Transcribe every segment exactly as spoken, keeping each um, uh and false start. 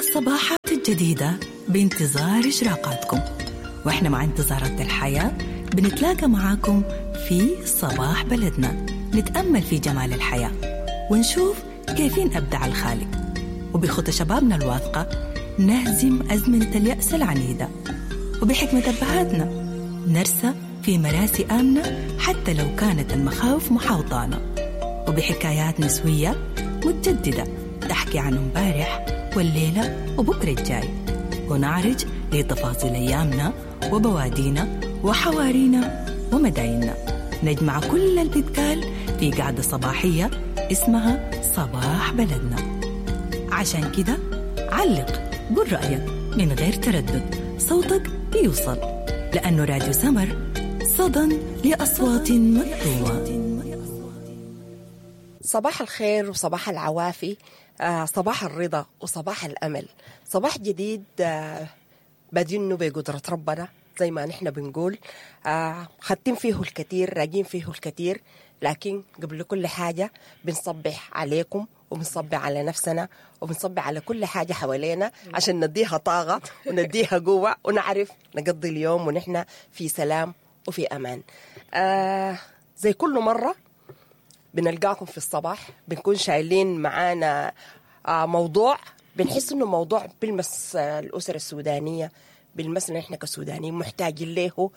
الصباحات الجديدة بانتظار إشراقاتكم، وإحنا مع انتظارات الحياة بنتلاقى معاكم في صباح بلدنا، نتأمل في جمال الحياة ونشوف كيفين أبدع الخالق، وبخطى شبابنا الواثقة نهزم أزمنة اليأس العنيدة، وبحكمة أبهاتنا نرسى في مراسي آمنة حتى لو كانت المخاوف محاوطانا، وبحكايات نسوية متجددة تحكي عن امبارح والليلة وبكرة الجاي، ونعرج لتفاصيل أيامنا وبوادينا وحوارينا ومدايننا. نجمع كل اللي بيتقال في قعدة صباحية اسمها صباح بلدنا. عشان كده علق، قل رأيك من غير تردد، صوتك بيوصل، لأنه راديو سمر صدى لأصوات مكتومة. صباح الخير وصباح العوافي، آه صباح الرضا وصباح الأمل، صباح جديد آه بادينه بقدرة ربنا زي ما نحن بنقول، آه خدتين فيه الكثير، راجين فيه الكثير، لكن قبل كل حاجة بنصبح عليكم وبنصبح على نفسنا وبنصبح على كل حاجة حوالينا عشان نديها طاقة ونديها قوة ونعرف نقضي اليوم ونحن في سلام وفي أمان. آه زي كل مرة بنلقاكم في الصباح، بنكون شايلين معانا آه موضوع بنحس إنه موضوع بيلمس الأسر السودانية، بيلمسنا إحنا كسودانيين محتاجين له.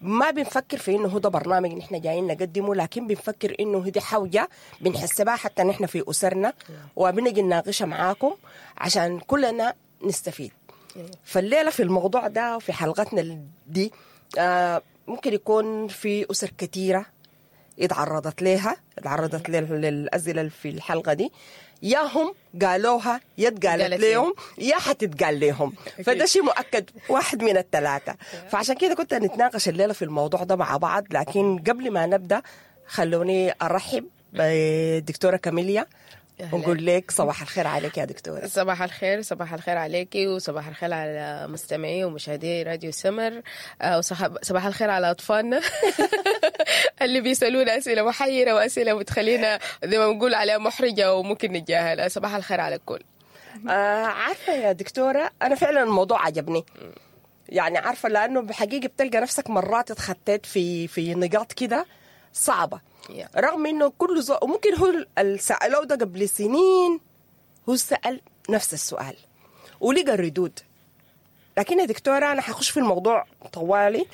ما بنفكر في إنه هو ده برنامج نحن جايين نقدمه، لكن بنفكر إنه هدي حوجة بنحسبها حتى نحن في أسرنا، وبنجي نناقشها معاكم عشان كلنا نستفيد. فالليلة في الموضوع ده وفي حلقتنا دي آه ممكن يكون في أسر كثيرة اتعرضت لها اتعرضت للأسئلة في الحلقة دي، يا هم قالوها يا اتقالت لهم يا حتتقال لهم، فده شيء مؤكد واحد من الثلاثة. فعشان كده كنت نتناقش الليلة في الموضوع ده مع بعض. لكن قبل ما نبدأ خلوني أرحب بدكتورة كاميليا ونقول لك صباح الخير عليك يا دكتورة. صباح الخير، صباح الخير عليكي وصباح الخير على مستمعي ومشاهدي راديو سمر، وصباح الخير على أطفالنا اللي بيسألونا أسئلة محيرة وأسئلة بتخلينا زي ما بنقول عليها محرجة وممكن نتجاهلها. صباح الخير على الكل. آه عارفة يا دكتورة، أنا فعلا الموضوع عجبني، يعني عارفة لأنه بحقيقة بتلقى نفسك مرات اتخطيت في في نقاط كده صعبة، رغم انه كل زو... وممكن هو سألوه ده قبل سنين، هو سأل نفس السؤال ولقى الردود. لكن يا دكتورة انا حخش في الموضوع طوالي.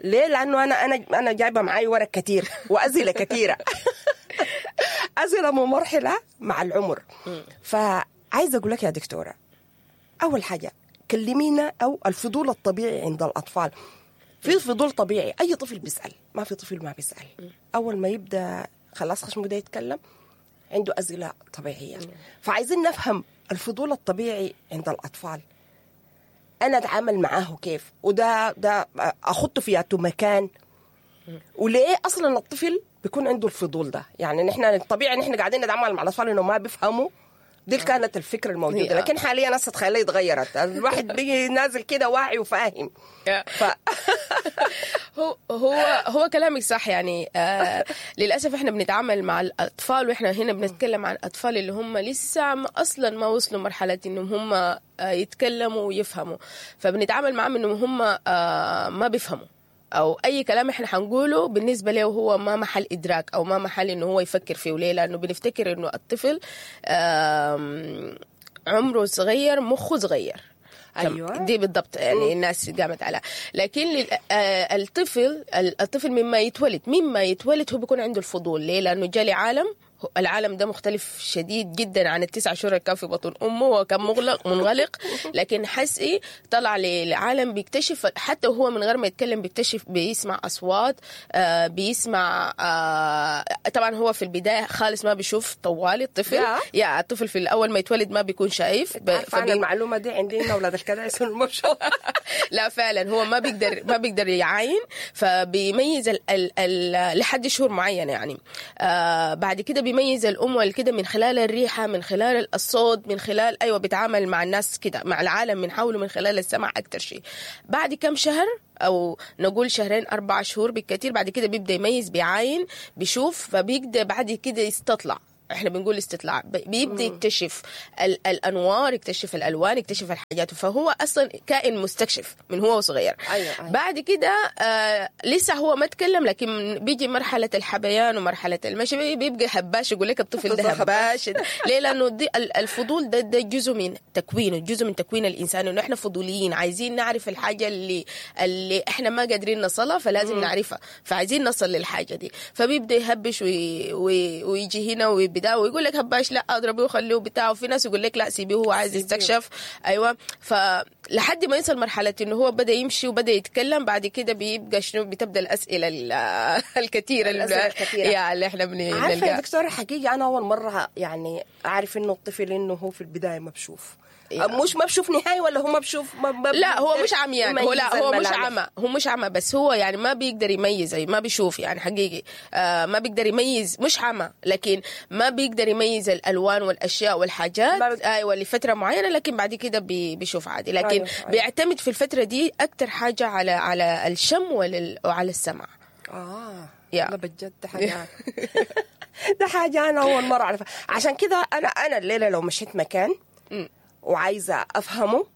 ليه؟ لانه انا انا انا جايبه معاي ورق كتير واسئلة كثيرة اسئلة ممرحله مع العمر. فعايزه اقول لك يا دكتورة، اول حاجة كلمينا او الفضول الطبيعي عند الاطفال. في فضول طبيعي، أي طفل بيسأل، ما في طفل ما بيسأل. أول ما يبدأ خلاص خشمه ده يتكلم عنده أسئلة طبيعية. فعايزين نفهم الفضول الطبيعي عند الأطفال، أنا أتعامل معاه كيف، وده ده أخطه في مكان، وليه أصلا الطفل بيكون عنده الفضول ده؟ يعني نحن الطبيعي نحن قاعدين نتعامل مع الأطفال إنه ما بيفهموا، دي كانت الفكرة الموجودة. لكن حاليا ناس تخيلي اتغيرت، الواحد بيجي نازل كده واعي وفاهم. ف... هو هو هو كلامك صح. يعني آه للأسف احنا بنتعامل مع الأطفال، واحنا هنا بنتكلم عن أطفال اللي هم لسه ما أصلا ما وصلوا مرحلة انهم هم آه يتكلموا ويفهموا، فبنتعامل معهم انهم هم آه ما بيفهموا، أو أي كلام إحنا حنقوله بالنسبة له هو ما محل إدراك أو ما محل إنه هو يفكر فيه. وليه؟ لأنه بنفتكر إنه الطفل عمره صغير، مخه صغير. أيوة. دي بالضبط يعني الناس قامت على. لكن الطفل الطفل مما يتولد مما يتولد هو بيكون عنده الفضول. ليه؟ لأنه جالي عالم، العالم ده مختلف شديد جدا عن التسع شهور اللي كان في بطن امه، وكان مغلق منغلق، لكن حسي طلع للعالم بيكتشف حتى وهو من غير ما يتكلم، بيكتشف، بيسمع اصوات، آه بيسمع آه طبعا هو في البداية خالص ما بيشوف طوالي الطفل، يا, يا الطفل في الاول ما يتولد ما بيكون شايف. فبي... المعلومة دي عندنا اولاد الكدعس ما بشوف. لا فعلا هو ما بيقدر ما بيقدر يعاين، فبيميز ال ال ال لحد شهور معينة يعني. آه بعد كده بيميز الأم والكده من خلال الريحة، من خلال الصوت، من خلال أيوة بيتعامل مع الناس كده، مع العالم من حوله من خلال السمع أكتر شيء. بعد كم شهر أو نقول شهرين أربع شهور بالكثير، بعد كده بيبدأ يميز، بيعاين، بيشوف، فبيقدر بعد كده يستطلع احنا بنقول استطلاع، بيبدا يكتشف الانوار، يكتشف الالوان، يكتشف الحاجات، فهو اصلا كائن مستكشف من هو صغير. أيوة أيوة. بعد كده آه لسه هو ما تكلم، لكن بيجي مرحلة الحبيان ومرحلة المشي، بيبقى هباش، يقول لك الطفل ده هباش. ليه؟ لانه دي الفضول ده ده جزء من تكوينه، جزء من تكوين الانسان، انه احنا فضوليين عايزين نعرف الحاجة اللي اللي احنا ما قادرين نصلها، فلازم مم. نعرفها، فعايزين نصل للحاجة دي. فبيبدا يهبش وي... وي... ويجي هنا ويبدا ويقول لك هباش، لا اضربيه وخليه بتاعه. وفي ناس يقول لك لا سيبيه هو عايز يستكشف. ايوه، فلحد ما يصل مرحلة انه هو بدا يمشي وبدا يتكلم، بعد كده بيبقى شنو؟ بتبدا الاسئلة الكثيرة الاسئلة الكثيرة يا اللي احنا بنلقاها. عارفه يا دكتورة، حقيقة انا اول مرة يعني اعرف انه الطفل انه هو في البداية ما بشوف، مش ما بشوف نهاية، ولا هو ما بشوف ما ما لا هو مش عميان، هو لا هو مش عمى، هو مش عمى، بس هو يعني ما بيقدر يميز، ما بيشوف يعني حقيقي، آه ما بيقدر يميز، مش عمى لكن ما بيقدر يميز الالوان والاشياء والحاجات، ايوه لفترة معينة، لكن بعد كده بي بيشوف عادي. لكن أيوة. أيوة. بيعتمد في الفترة دي اكثر حاجة على على الشم وعلى السمع. اه يا بجد حاجة ده حاجة انا اول مرة اعرفها. عشان كده انا انا الليلة لو مشيت مكان وعايزه افهمه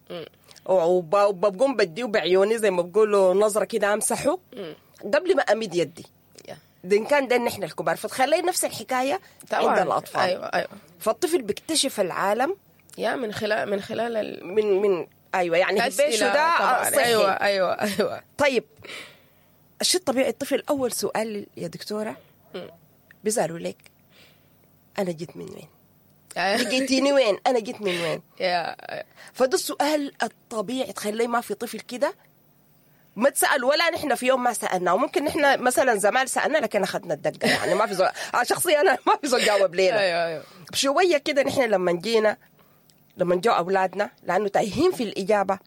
وبقوم بديه بعيوني زي ما بقولوا نظره كده امسحه قبل ما امد يدي. ده إن كان ده ان احنا الكبار، فتخلي نفس الحكاية طبعاً عند الاطفال. ايوه ايوه. فالطفل بيكتشف العالم يا من خلال من خلال ال... من من ايوه يعني هبيشه ده صحي. ايوه ايوه ايوه. طيب الشيء الطبيعي الطفل اول سؤال يا دكتورة بيسالوا لك انا جيت من وين؟ لقيتيني وين؟ انا جيت من وين؟ فده السؤال الطبيعي. تخيلي ما في طفل كده ما تسأل، ولا نحن في يوم ما سألنا، وممكن نحن مثلا زمان سألنا لكن أخذنا الدقة، يعني ما في زول شخصيا أنا ما في زول جاوب لينا. أيوة أيوة. شوية كده نحن لما جينا لما جو أولادنا لأنه تايهين في الإجابة،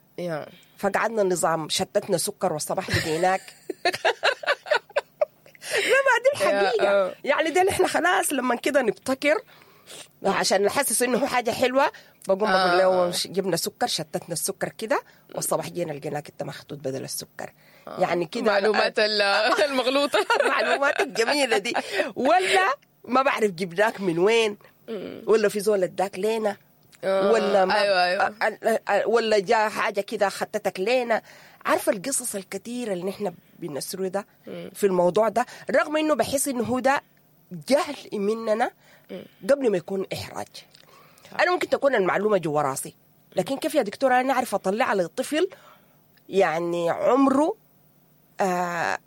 فقعدنا النظام شتتنا سكر والصباح لقيناك. لا ما دي الحقيقة يعني، ده نحن خلاص لما كده نبتكر عشان نحسس انه حاجة حلوة، بقوم بقول له جبنا سكر شتتنا السكر كده والصباح جينا لقيناك انت مخطوط بدل السكر. آه. يعني كده معلومات المغلوطة المعلومات الجميلة دي، ولا ما بعرف جبناك من وين، ولا في زول اداك لينا، ولا ما أيوة أيوة. ولا جاء حاجة كده خطتك لينا. عارفه القصص الكثيرة اللي نحن بنسردها في الموضوع ده، رغم انه بحس انه هو ده جهل مننا قبل ما يكون إحراج. أنا ممكن تكون المعلومة جوا راسي، لكن كيف يا دكتورة أنا أعرف أطلع للطفل يعني عمره آه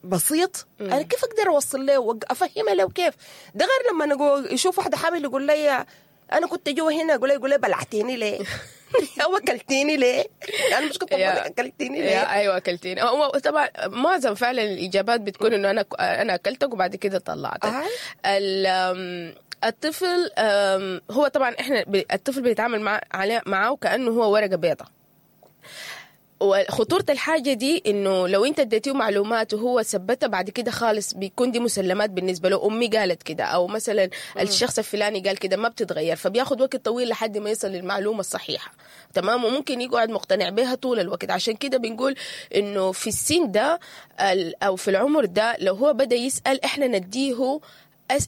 بسيط، أنا كيف أقدر أوصل له وأفهمه له كيف؟ ده غير لما نقول يشوف واحدة حامل يقول لي أنا كنت جوا هنا، يقول لي يقول لي بلعتيني ليه؟ أو أكلتيني ليه؟ أنا مش كنت أكلتيني ليه؟ أيوة أكلتيني. هو طبعا معظم فعلا الإجابات بتكون إنه أنا أنا أكلتك وبعد كده طلعتك. الطفل هو طبعا إحنا الطفل بيتعامل مع معاه كأنه هو ورقة بيضاء. وخطورة الحاجة دي إنه لو أنت اديتيه معلومات وهو ثبتها بعد كده خالص بيكون دي مسلمات بالنسبة له، أمي قالت كده أو مثلا الشخص الفلاني قال كده، ما بتتغير، فبياخد وقت طويل لحد ما يصل للمعلومة الصحيحة. تمام، وممكن يقعد مقتنع بها طول الوقت. عشان كده بنقول إنه في السن ده أو في العمر ده لو هو بدأ يسأل إحنا نديه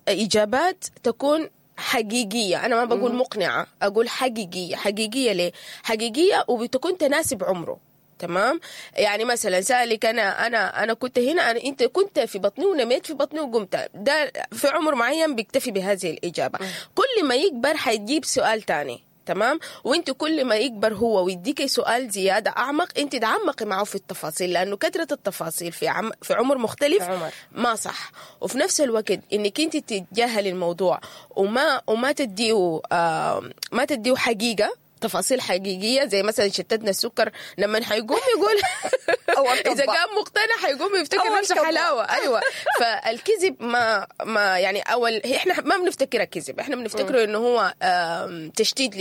إجابات تكون حقيقية. أنا ما بقول مقنعة، أقول حقيقية. حقيقية ليه؟ حقيقية وبتكون تناسب عمره. تمام، يعني مثلا سألك أنا أنا أنا كنت هنا، أنا أنت كنت في بطني ونميت في بطني وقمت، ده في عمر معين بيكتفي بهذه الإجابة. كل ما يكبر حيجيب سؤال تاني. تمام، وانت كل ما يكبر هو ويديك سؤال زيادة اعمق، انت تعمقي معه في التفاصيل، لانه كثرة التفاصيل في عم في عمر مختلف عمر. ما صح. وفي نفس الوقت انك انت تتجاهلي الموضوع وما وما تديه آه ما تديه حقيقة، تفاصيل حقيقية، زي مثلا شتتنا السكر لما حيقوم يقول إذا كان مقتنع حيقوم يفتكر نفسه حلاوة. أيوة، فالكذب ما ما يعني أول إحنا ما بنفتكره كذب، إحنا بنفتكره إنه هو تشتيت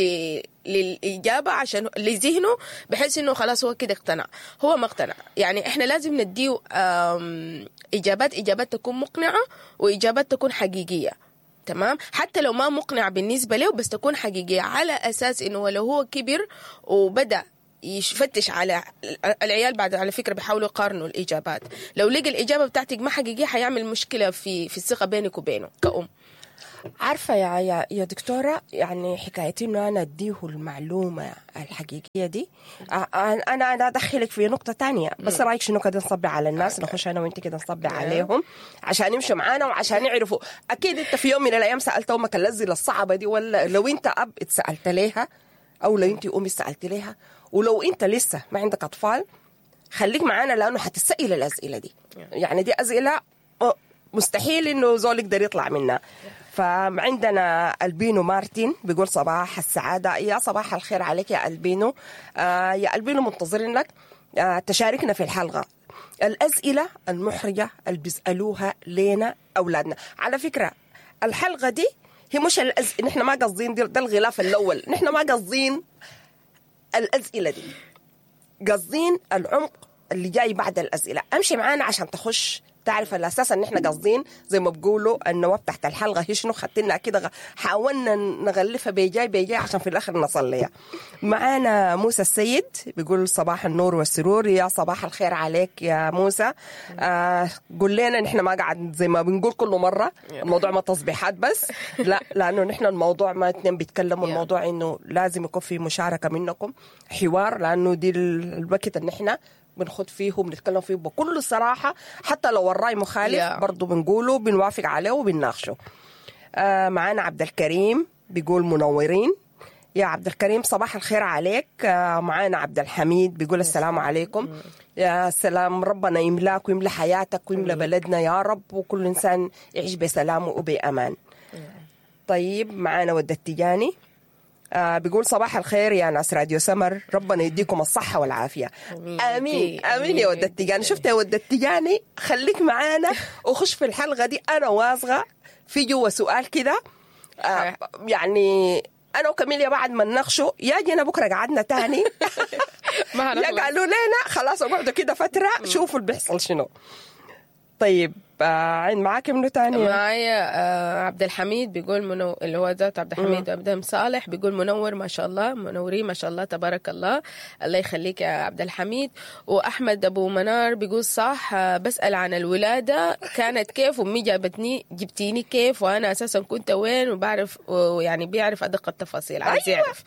للإجابة عشان لذهنه، بحيث إنه خلاص هو كده اقتنع. هو ما اقتنع. يعني إحنا لازم نديه إجابات، إجابات تكون مقنعة وإجابات تكون حقيقية. تمام، حتى لو ما مقنع بالنسبة له بس تكون حقيقية، على أساس إنه لو هو كبر وبدأ يفتش على العيال بعد، على فكرة بيحاولوا يقارنوا الإجابات، لو لقى الإجابة بتاعتك ما حقيقية حيعمل مشكلة في في الثقة بينك وبينه كأم. عارفة يا يا يا دكتورة، يعني حكاية إنه أنا أديه المعلومة الحقيقية دي، أنا أنا أدخلك في نقطة تانية، بس رأيك شنو كده نصبي على الناس؟ نخش أنا وأنت كده نصبي عليهم عشان يمشوا معانا وعشان يعرفوا. أكيد أنت في يوم من الأيام سألت أمك الأسئلة الصعبة دي، ولا لو أنت أب اتسألت ليها، أو لو أنت أمي سألت ليها، ولو أنت لسه ما عندك أطفال خليك معانا لأنه حتسأل الأسئلة دي. يعني دي أسئلة مستحيل إنه زول يقدر يطلع منها. فعندنا ألبينو مارتين بيقول صباح السعادة. يا صباح الخير عليك يا ألبينو. آه يا ألبينو منتظرينك آه تشاركنا في الحلقة الأسئلة المحرجة اللي بيسألوها لنا أولادنا. على فكرة الحلقة دي هي مش الأز... نحن ما قصدين ده الغلاف الأول، نحن ما قصدين الأسئلة دي، قصدين العمق اللي جاي بعد الأسئلة. أمشي معانا عشان تخش تعرف الأساس إن إحنا قاصدين زي ما بقولوا النواب تحت الحلقة هي شنو، خدتنا كده حاولنا نغلفها بيجاي بيجاي عشان في الآخر نصل ليها. معانا موسى السيد بيقول صباح النور والسرور. يا صباح الخير عليك يا موسى. آه قول لنا نحن ما قاعد زي ما بنقول كل مرة الموضوع ما تصبيحات بس، لا، لأنه نحن الموضوع ما اتنين بيتكلموا، الموضوع إنه لازم يكون في مشاركة منكم، حوار، لأنه دي الوقت إن إحنا بنخد فيه وبنتكلم فيه بكل صراحة، حتى لو الرأي مخالف yeah. برضو بنقوله بنوافق عليه وبنناقشه. آه معانا عبد الكريم بيقول منورين. يا عبد الكريم صباح الخير عليك. آه معانا عبد الحميد بيقول السلام عليكم. يا سلام، ربنا يملاك ويملى حياتك ويملى بلدنا يا رب، وكل إنسان يعيش بسلام وبأمان. طيب معانا ود التجاني آه بيقول صباح الخير يا ناس راديو سمر، ربنا يديكم الصحة والعافية. آمين آمين, آمين يا ود التجاني. شفت يا ود التجاني، خليك معانا وخش في الحلقة دي، أنا واثقة في جوا سؤال كده آه يعني أنا وكميليا بعد ما نناقشه يا جينا بكرة قعدنا تاني يا قالوا لنا خلاص اقعدوا كده فترة شوفوا اللي بيحصل شنو. طيب آه معاك منو تاني؟ معايا آه عبد الحميد بيقول منو اللي هو ذات عبد الحميد عبد صالح بيقول منور ما شاء الله، منورين ما شاء الله تبارك الله، الله يخليك يا عبد الحميد. واحمد ابو منار بيقول صح، آه بسأل عن الولادة كانت كيف، وامي جابتني جبتيني كيف، وانا اساسا كنت وين، وبعرف ويعني بيعرف ادق التفاصيل، عايز يعرف.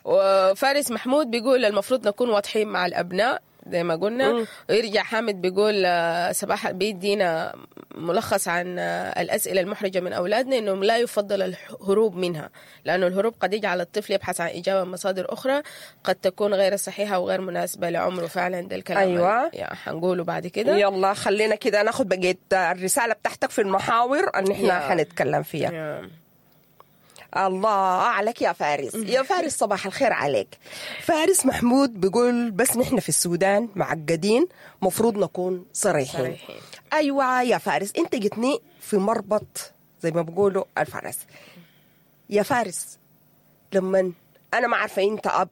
وفارس محمود بيقول المفروض نكون واضحين مع الابناء زي ما قلنا. ويرجع حامد بيقول صباح بيدينا ملخص عن الأسئلة المحرجة من أولادنا، إنه لا يفضل الهروب منها، لأنه الهروب قد يجعل الطفل يبحث عن إجابة من مصادر أخرى قد تكون غير صحيحة وغير مناسبة لعمره. فعلا ده الكلام. أيوة. يعني حنقوله بعد كده. يلا خلينا كده ناخد بقية الرسالة بتاعتك في المحاور أن إحنا حنتكلم فيها. يا. الله عليك يا فارس. يا فارس صباح الخير عليك. فارس محمود بيقول بس نحن في السودان معقدين، مفروض نكون صريحين. صريحين. أيوة يا فارس، أنت جتني في مربط زي ما بيقولوا الفارس. يا فارس لما أنا ما عارفة أنت أب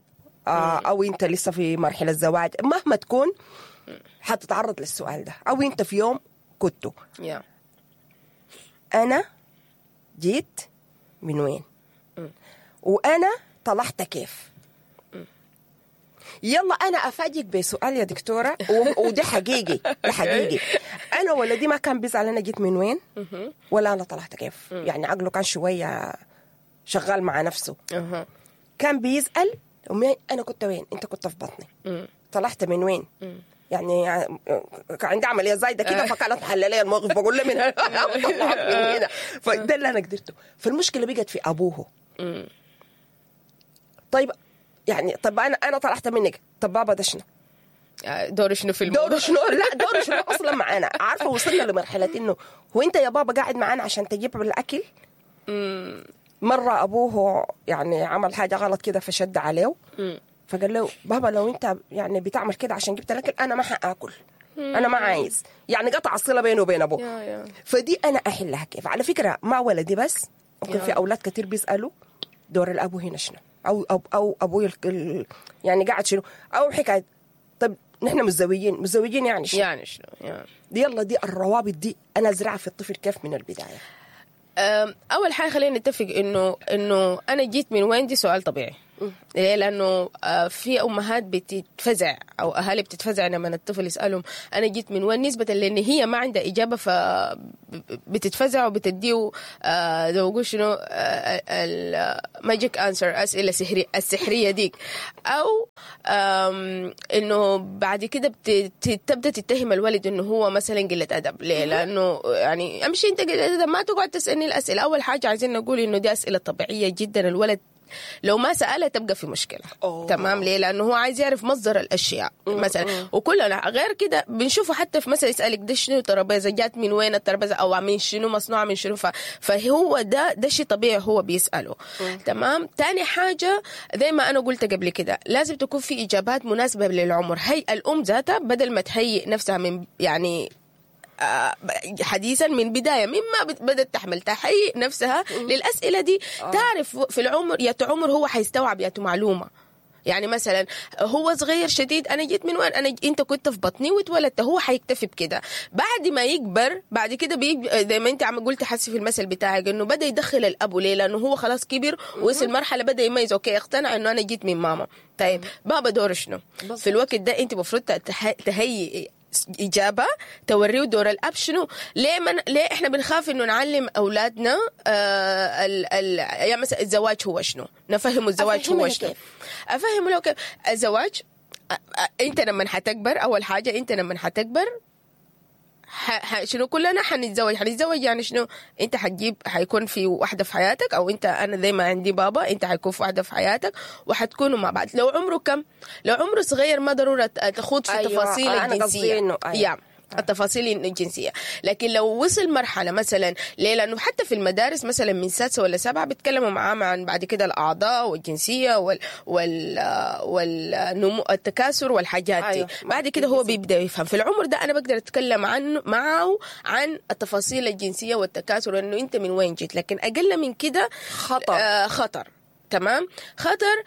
أو أنت لسه في مرحلة الزواج، مهما تكون حتتعرض للسؤال ده، أو أنت في يوم كنت yeah. أنا جيت من وين؟ وأنا طلعت كيف؟ يلا أنا أفاجئك بسؤال يا دكتورة، وده حقيقي، ده حقيقي. أنا ولدي ما كان بيزعل أنا جيت من وين ولا أنا طلعت كيف، يعني عقله كان شوية شغال مع نفسه. كان بيسأل أمي أنا كنت وين؟ أنت كنت في بطني، طلعت من وين؟ يعني عندي عملية زايدة كده فكانت محللية الموقف، بقول له من هنا من هنا، فده اللي أنا قدرته. فالمشكلة بقت في أبوه. طيب يعني طب أنا أنا طلعت منك، طب بابا ده شنو؟ دوره شنو في الموضوع؟ دوره شنو؟ لا دوره شنو أصلا معانا؟ عارفة وصلنا لمرحلة إنه هو أنت يا بابا قاعد معانا عشان تجيب الأكل؟ مرة أبوه يعني عمل حاجة غلط كده فشد عليه، فقال له بابا لو انت يعني بتعمل كده عشان جبت الاكل انا ما حاكل، انا ما عايز، يعني قطع الصلة بينه وبين ابوه. فدي انا احلها كيف؟ على فكرة ما ولدي بس، ممكن في اولاد كتير بيسالوا دور الابو هنا شنو، او او او ابوي يعني قاعد شنو، او حكاية طب نحن متزوجين، متزوجين يعني شنو، يعني شنو يعني. يلا دي الروابط دي انا ازرعها في الطفل كيف من البداية؟ اول حاجة خلينا نتفق انه انه انا جيت من وين، دي سؤال طبيعي. ليه؟ لانه آه، في امهات بتتفزع او اهالي بتتفزع لما الطفل يسالهم انا جيت من وين، نسبه لان هي ما عندها اجابه فبتتفزع وبتديه آه، زي ما بقول شنو ال magic answer، اسئلة سحريه السحريه ديك، او آم، انه بعد كده بت- تبدا تتهم الولد انه هو مثلا قلة ادب. ليه؟ لانه يعني امشي انت قلة ادب، ما تقعد تسالني الاسئلة. اول حاجة عايزين نقول انه دي اسئلة طبيعية جدا، الولد لو ما سالها تبقى في مشكلة. أوه. تمام؟ ليه؟ لانه هو عايز يعرف مصدر الاشياء مثلا، وكلنا غير كده بنشوفه حتى في مثلا يسالك ده شنو ترابيزة جات من وين الترابيزة، او من شنو مصنوعة من شنو، ف... فهو ده ده شيء طبيعي هو بيساله. تمام؟ تاني حاجة زي ما انا قلت قبل كده لازم تكون في اجابات مناسبة للعمر. هي الام ذاتها بدل ما تهيئ نفسها من يعني آه، حديثا من بداية مما بت- بدات تحمل تهيئ نفسها للاسئلة دي. تعرف في العمر يا عمر هو حيستوعب يا معلومة. يعني مثلا هو صغير شديد، انا جيت من وين؟ انا ج- انت كنت في بطني واتولدت، هو حيكتفي بكده. بعد ما يكبر بعد كده بيج... زي ما انت عم قلت حسي في المثل بتاعك انه بدا يدخل الاب. ليه؟ لانه هو خلاص كبر وصل مرحلة بدا يميز، okay اقتنع انه انا جيت من ماما. طيب بابا دوره شنو؟ في الوقت ده انت المفروض تح- تهيئ اجابه توريه دور الاب شنو. ليه من ليه احنا بنخاف انه نعلم اولادنا آه ال ال يعني مثلا الزواج هو شنو، نفهمه الزواج أفهمه هو له شنو. كيف؟ افهمه له كيف الزواج. أ- أ- انت لما حتكبر، اول حاجة انت لما حتكبر ح... ح... شنو كلنا حنتزوج. حنتزوج يعني شنو؟ انت حتجيب حيكون في واحدة في حياتك، او انت انا زي ما عندي بابا انت حيكون في واحدة في حياتك وحتكونوا مع بعض. لو عمره كم؟ لو عمره صغير ما ضرورة تخوض في أيوة، تفاصيل أنا قصدي الجنسية. إنه أيوة. يا التفاصيل الجنسية. لكن لو وصل مرحلة مثلا، ليه؟ لانه حتى في المدارس مثلا من سادسة ولا سبعة بيتكلموا معاه عن بعد كده الاعضاء والجنسيه وال وال والنمو التكاثر والحاجات دي. أيوة. بعد كده هو بيبدا يفهم. في العمر ده انا بقدر اتكلم عنه معه عن التفاصيل الجنسية والتكاثر وانه انت من وين جيت، لكن اقل من كده خطر. آه خطر. تمام؟ خطر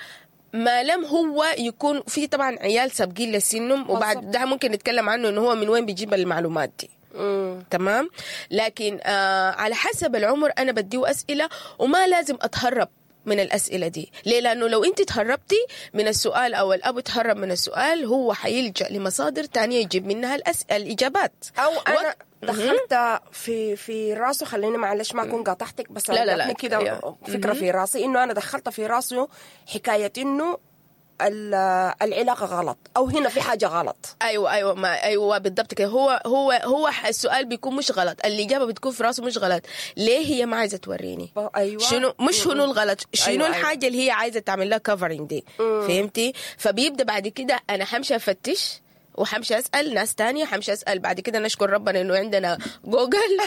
ما لم هو يكون في طبعا عيال سابقين لسنهم، وبعد ده ممكن نتكلم عنه انه هو من وين بيجيب المعلومات دي. مم. تمام؟ لكن آه على حسب العمر انا بديه اسئلة، وما لازم اتهرب من الاسئلة دي. ليه؟ لانه لو انت تهربتي من السؤال او الاب تهرب من السؤال، هو حيلجا لمصادر تانية يجيب منها الأسئلة الاجابات. او انا وقت- دخلت في في راسه، خليني معلش ما اكون قاطعتك، بس لا، لا، لا. جاتني كده يا. فكرة في راسي انه انا دخلت في راسه حكاية انه ال- العلاقة غلط او هنا في حاجة غلط. ايوه ايوه ما ايوه بالضبط كده. هو هو هو السؤال بيكون مش غلط، الاجابة بتكون في راسه مش غلط. ليه هي ما عايزه توريني؟ ايوه شنو مش شنو الغلط، شنو أيوة، أيوة الحاجة اللي هي عايزه تعمل لها covering دي. فهمتي؟ فبيبدا بعد كده انا حمشي افتش وحمشي اسال ناس تانية، حمشي اسال بعد كده. نشكر ربنا انه عندنا جوجل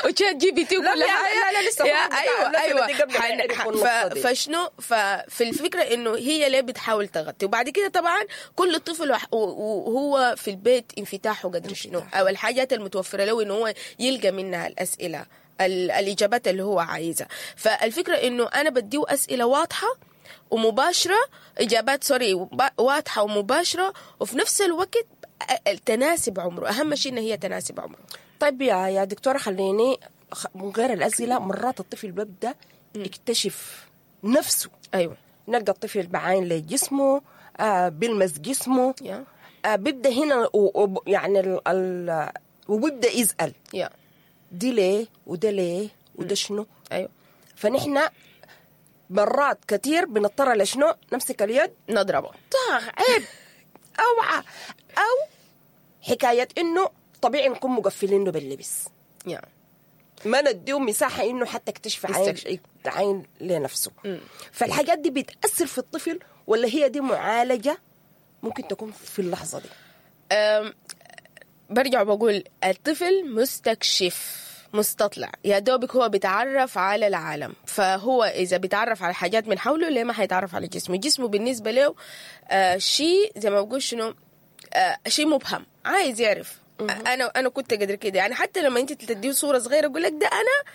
و ChatGPT لا، وكل لا، حاجة. لا، لا، لسه يا هم بتاع ايوه الناس ايوه اللي قبل ما حن- يعرفوا ح- النقطة ف- دي. فشنو ففي الفكرة انه هي ليه بتحاول تغطي. وبعد كده طبعا كل طفل وح- وهو في البيت انفتاحه قدر شنو، او الحاجات المتوفرة له انه هو يلقى منها الاسئلة ال- الاجابات اللي هو عايزها. فالفكرة انه انا بديه اسئلة واضحة ومباشرة، اجابات sorry وب- واضحة ومباشرة، وفي نفس الوقت تناسب عمره. اهم شيء ان هي تناسب عمره. طيب يا يا دكتورة خليني خ- من غير الاسئلة، مرات الطفل بيبدا يكتشف نفسه. ايوه نلقى الطفل بعاين لجسمه، آه بيلمس جسمه، يا آه بيبدا هنا و- و- يعني ال ال وبيبدا يسال يا دي ليه وده ليه وده شنو. ايوه فنحن مرات كتير بنضطر لشنو؟ نمسك اليد نضربه. طاخ عيب اوعى، او حكاية انه طبيعي نكون مقفلينه باللبس، يا ما نديه مساحة انه حتى يكتشف عين يستكشف. عين لنفسه. فالحاجات دي بتاثر في الطفل ولا هي دي معالجة ممكن تكون في اللحظة دي؟ أم، برجع بقول الطفل مستكشف مستطلع، يا دوبك هو بيتعرف على العالم. فهو اذا بيتعرف على حاجات من حوله، ليه ما حيتعرف على جسمه؟ جسمه بالنسبة له آه شيء زي ما بقول شنو آه شيء مبهم، عايز يعرف. انا انا كنت قدر كده يعني. حتى لما انت تديه صوره صغيرة يقول لك ده انا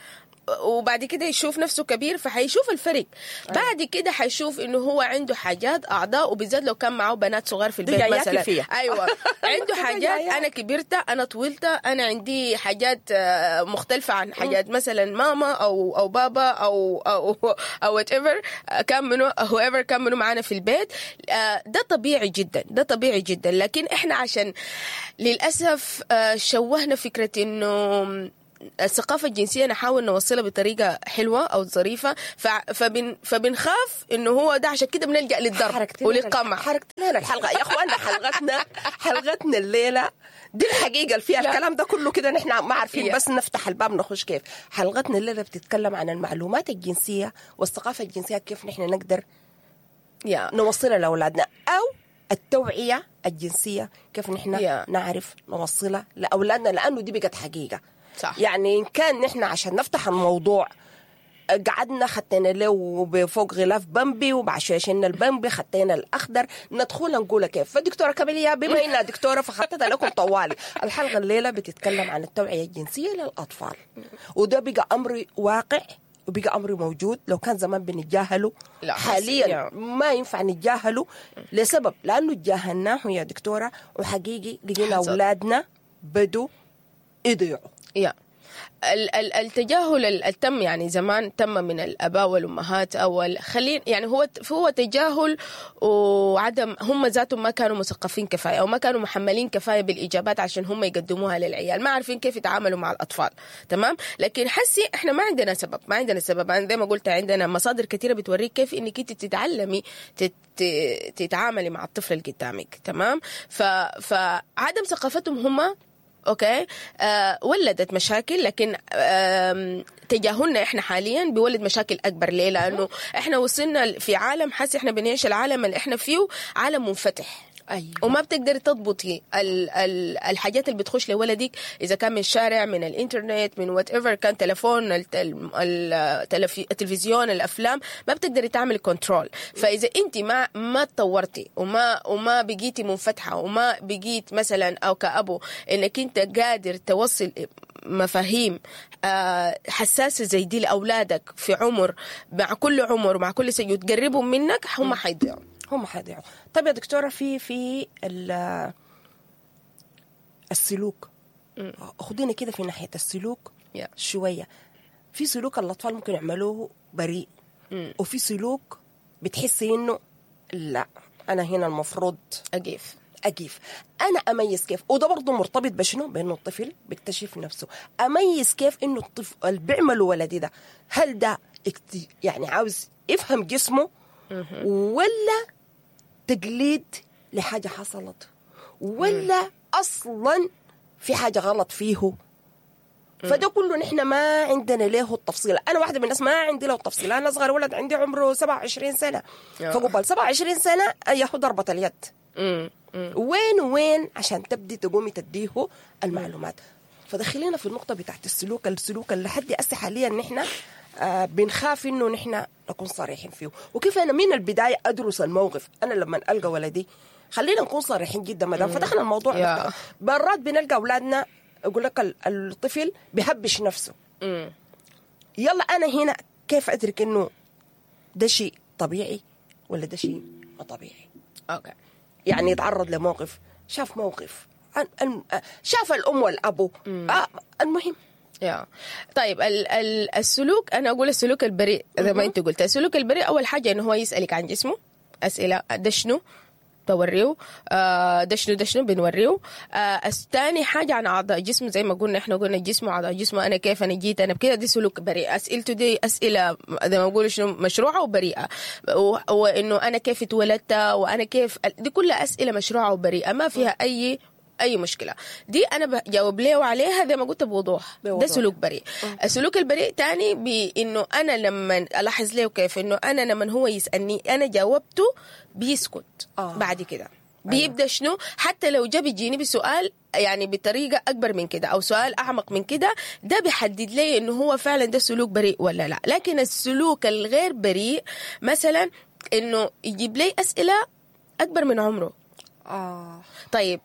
وبعد كده يشوف نفسه كبير، فحيشوف الفرق. بعد كده حيشوف انه هو عنده حاجات اعضاء، وبالذات لو كان معه بنات صغار في دي البيت جاياكي مثلا. فيها. ايوه عنده حاجات، جاياك. انا كبرت، انا طولت، انا عندي حاجات آه، مختلفة عن حاجات مثلا ماما او او بابا او او او whatever كان منو، whoever كان منو معانا في البيت. آه، ده طبيعي جدا، ده طبيعي جدا. لكن احنا عشان للاسف آه، شوهنا فكرة انه الثقافة الجنسية نحاول نوصلها بطريقة حلوة أو ظريفة، ف- فبن فبنخاف إنه هو ده، عشان كده بنلجأ للضرب حركتنا وللقمع. حركتنا لنا الحلقة يا اخوانا، حلقتنا حلقتنا الليلة دي الحقيقة اللي فيها لا. الكلام ده كله كده، نحن ما عارفين يا. بس نفتح الباب نخش كيف. حلقتنا الليلة بتتكلم عن المعلومات الجنسية والثقافة الجنسية، كيف نحن نقدر يا نوصلها لاولادنا، او التوعية الجنسية كيف نحن يا. نعرف نوصلها لاولادنا، لانه دي بقت حقيقة. صح. يعني ان كان نحن عشان نفتح الموضوع قعدنا خدينا له بفوق غلاف بامبي، وبعد شوية شلنا البامبي خدينا الاخضر، ندخل نقول كيف. فدكتوره كاميليا بما انها دكتورة فخدتها لكم طوالي. الحلقة الليلة بتتكلم عن التوعية الجنسية للاطفال، وده بقى امر واقع وبقى امر موجود. لو كان زمان بنتجاهله، لا، بس- حاليا يا. ما ينفع نتجاهله لسبب، لانه تجاهلناه يا دكتورة وحقيقي لقينا حصل. اولادنا بدوا يضيعوا. يا ال- ال- التجاهل ال- التم يعني زمان تم من الاباء والامهات او ال- خلين يعني هو هو تجاهل وعدم، هم ذاتهم ما كانوا مثقفين كفاية او ما كانوا محملين كفاية بالاجابات عشان هم يقدموها للعيال، ما عارفين كيف يتعاملوا مع الاطفال. تمام. لكن حسي احنا ما عندنا سبب، ما عندنا سبب. أنا زي ما قلت عندنا مصادر كثيرة بتوريك كيف انك انت تتعلمي تت تتعاملي مع الطفل اللي قدامك. تمام. ف فعدم ثقافتهم هم okay آه ولدت مشاكل، لكن آه تجاهلنا احنا حاليا بيولد مشاكل اكبر. ليه؟ لانه احنا وصلنا في عالم، حاسس احنا بنعيش العالم اللي احنا فيه عالم منفتح. ايوه. وما بتقدري تضبطي ال ال الحاجات اللي بتخش لولدك، اذا كان من الشارع، من الانترنت، من whatever كان، تلفون، الت- ال- التلفي- التلفزيون، الافلام، ما بتقدري تعملي control. فاذا انت ما ما تطورتي وما وما بقيتي منفتحة وما بقيت مثلا او كابو انك انت قادر توصل مفاهيم آه، حساسة زي دي لاولادك في عمر، مع كل عمر مع كل سنة وتقربهم منك، هم حيضيعوا. هم حيضيعوا. طيب يا دكتورة، في في ال- السلوك، خدينا كده في ناحية السلوك Yeah. شوية. في سلوك الاطفال ممكن يعملوه بريء، وفي سلوك بتحسي انه لا، انا هنا المفروض اقيف. أقيف. أنا أميز كيف؟ وده برضه مرتبط بشنو؟ بأنه الطفل بيكتشف نفسه. أميز كيف إنه الطفل اللي بيعمله ولدي ده، هل ده اكت- يعني عاوز يفهم جسمه، ولا تقليد لحاجة حصلت، ولا أصلا في حاجة غلط فيه؟ فده كله نحن ما عندنا له التفصيل. انا واحدة من الناس ما عندي له التفصيل. انا اصغر ولد عندي عمره سبعة وعشرين سنة، آه. فقبل سبعة وعشرين سنة ياخذ ضربه اليد. مم. مم. وين وين عشان تبدي تقومي تديه المعلومات. فدخلينا في النقطة بتاعت السلوك، السلوك اللي لحد هسه حاليا نحن آه بنخاف انه نحن نكون صريحين فيه، وكيف انا من البداية ادرس الموقف. انا لما القى ولدي، خلينا نكون صريحين جدا ما دام فتحنا الموضوع، يا. مرات بنلقى اولادنا يقول لك ال- الطفل بيهبش نفسه. مم. يلا انا هنا كيف ادرك انه ده شيء طبيعي ولا ده شيء ما طبيعي؟ okay. يعني يتعرض لموقف، شاف موقف، أن- أن- شاف الام والابو، آه المهم. يا طيب ال ال السلوك، انا اقول السلوك البريء زي ما انت قلت. السلوك البريء اول حاجة انه هو يسالك عن جسمه اسئلة، ده شنو؟ بوريه، آه ده شنو، ده شنو بنوريه. آه ثاني حاجة عن اعضاء جسمه، زي ما قلنا احنا قلنا جسمه، اعضاء جسمه، انا كيف، انا جيت، انا بكده، دي سلوك بريء. اسئلته دي اسئلة زي ما بقولوا شنو، مشروعه وبريئه، و- وانه انا كيف اتولدت، وانا كيف، دي كلها اسئلة مشروعه وبريئه، ما فيها اي اي مشكلة. دي انا بجاوب له عليها زي ما قلت بوضوح. بوضوح. ده سلوك بريء. السلوك البريء تاني بانه انا لما الاحظ له كيف انه انا لما هو يسالني انا جاوبته بيسكت. آه. بعد كده بيبدا شنو، حتى لو جا بيجيني بسؤال يعني بطريقة اكبر من كده او سؤال اعمق من كده، ده بيحدد لي انه هو فعلا ده سلوك بريء ولا لا. لكن السلوك الغير بريء مثلا انه يجيب لي اسئلة اكبر من عمره. اه طيب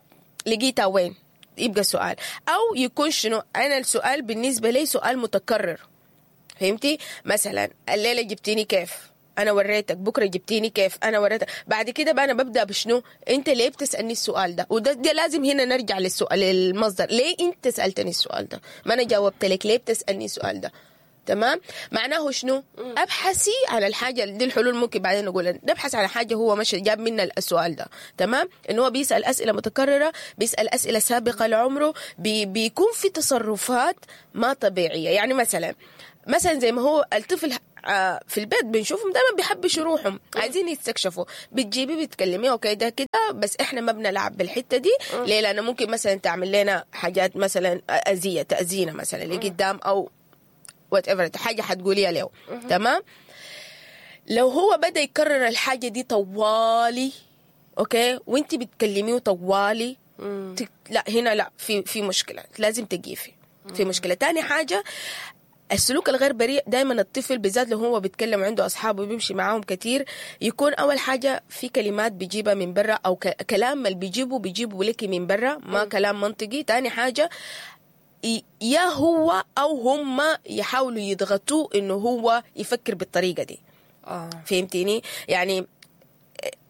لقيتها وين؟ يبقى سؤال. او يكون شنو، انا السؤال بالنسبة لي سؤال متكرر، فهمتي؟ مثلا الليلة جبتيني كيف؟ انا وريتك. بكره جبتيني كيف؟ انا وريتك. بعد كده بقى انا ببدا بشنو؟ انت ليه بتسالني السؤال ده؟ وده ده لازم هنا نرجع للسؤال، للمصدر. ليه انت سالتني السؤال ده؟ ما انا جاوبت لك، ليه بتسالني السؤال ده؟ تمام؟ معناه شنو؟ ابحثي على الحاجة دي. الحلول ممكن بعدين نقول نبحث على حاجة هو مش جاب منا السؤال ده. تمام؟ انه هو بيسال اسئلة متكررة، بيسال اسئلة سابقه لعمره، بي بيكون في تصرفات ما طبيعية. يعني مثلا مثلا زي ما هو الطفل آه، في البيت بنشوفهم دائما بيحبشوا روحهم، عايزين يستكشفوا. بتجيبي بتكلميه okay ده كده، بس احنا ما بنلعب بالحتة دي. ليه؟ لانه ممكن مثلا تعمل لنا حاجات مثلا اذيه، تاذينا مثلا لقدام او whatever حاجة حتقوليها له. تمام؟ لو هو بدا يكرر الحاجة دي طوالي، okay، وانت بتكلميه طوالي، تك... لا هنا لا، في في مشكلة لازم تقيفي، في مشكلة. تاني حاجة السلوك الغير بريء. دائما الطفل بالذات لو هو بيتكلم عنده اصحابه بيمشي معاهم كتير، يكون اول حاجة في كلمات بيجيبها من برا، او ك... كلام اللي بيجيبه بيجيبه لك من برا، ما كلام منطقي. تاني حاجة ي- يا هو او هم يحاولوا يضغطوه انه هو يفكر بالطريقة دي. آه. فهمتيني؟ يعني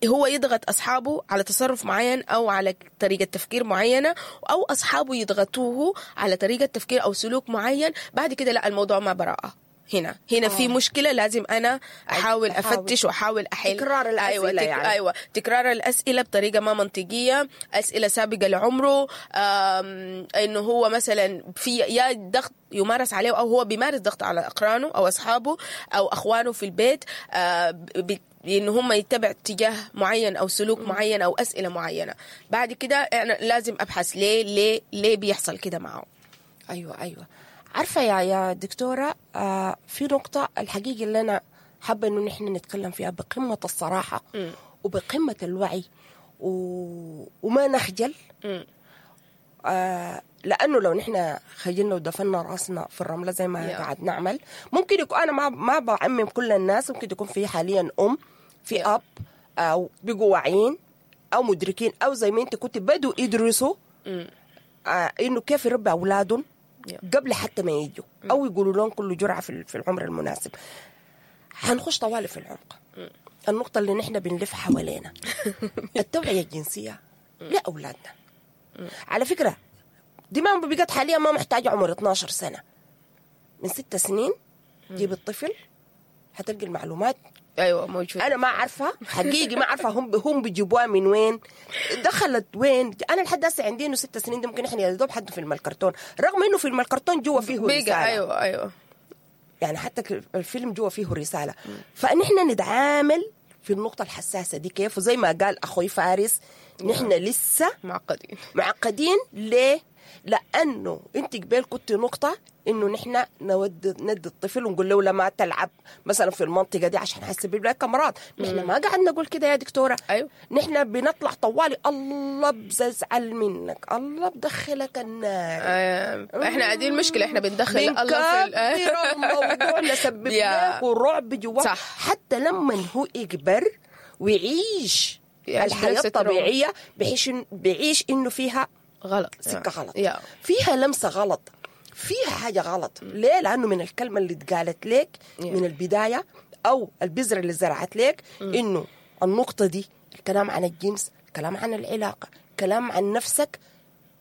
هو يضغط اصحابه على تصرف معين او على طريقه تفكير معينة، او اصحابه يضغطوه على طريقه تفكير او سلوك معين. بعد كده لا، الموضوع ما براءه. هنا هنا في مشكلة لازم انا احاول أحاول. افتش واحاول احل. تكرار الأسئلة أيوة تك... يعني. ايوه تكرار الاسئلة بطريقة ما منطقية، اسئلة سابقه لعمره، آم، انه هو مثلا في يا ضغط يمارس عليه او هو بيمارس ضغط على اقرانه او اصحابه او اخوانه في البيت، آه، ب- ان هم يتبع اتجاه معين او سلوك معين او اسئلة معينة. بعد كده انا لازم ابحث ليه ليه ليه بيحصل كده معه. ايوه ايوه عارفه يا يا دكتورة، آه في نقطة الحقيقة اللي انا حابة انه نحن نتكلم فيها بقمة الصراحة وبقمه الوعي و... وما نخجل. آه لانه لو نحن خجلنا ودفنا راسنا في الرملة زي ما Yeah. قاعد نعمل، ممكن يكون انا ما ما بعمم كل الناس، ممكن يكون في حاليا ام في Yeah. اب او بقوا واعيين او مدركين او زي ما انت كنت بدوا يدرسوا آه انه كيف يربي اولادهم Yeah. قبل حتى ما يجوا او يقولوا لهم كل جرعة في في العمر المناسب. حنخش طوالي في العمق. النقطة اللي نحن بنلف حوالينا التوعية الجنسية لاولادنا. على فكرة دي ما بقت حاليا ما محتاجه عمر اتناشر سنة، من ست سنين جيب الطفل حتلقي المعلومات. ايوه موجود. انا ما عارفه حقيقي، ما عارفه هم هم بيجيبوها من وين، دخلت وين. انا لحد هسه عندي انه ست سنين دي ممكن احنا يا دوب حد فيلم الكرتون، رغم انه فيلم الكرتون جوا فيه بيجا رسالة. ايوه ايوه يعني حتى ك- الفيلم جوا فيه رسالة. فنحن نتعامل في النقطة الحساسة دي كيف؟ وزي ما قال اخوي فارس، نحن لسه معقدين. معقدين. ليه؟ لانه انت قبل كنت نقطة انه نحن نود ندي الطفل ونقول له لما تلعب مثلا في المنطقة دي عشان حيسبب لك امراض. نحن ما قاعد نقول كده يا دكتورة. أيوة. نحن بنطلع طوالي الله بزعل منك، الله بدخلك النار. آه، احنا دي المشكلة، احنا بندخل الله في ال- بنكبر الموضوع نسبب يا. له رعب جواه. صح. حتى لما هو يكبر ويعيش يعيش الحياة بنفس التروما. الطبيعية بيعيش بيعيش انه فيها غلط، سكة غلط، يا فيها لمسه غلط، فيها حاجة غلط. ليه؟ لانه من الكلمة اللي اتقالت لك Yeah. من البداية او البذرة اللي زرعت لك انه النقطة دي، الكلام عن الجنس، الكلام عن العلاقة، كلام عن نفسك،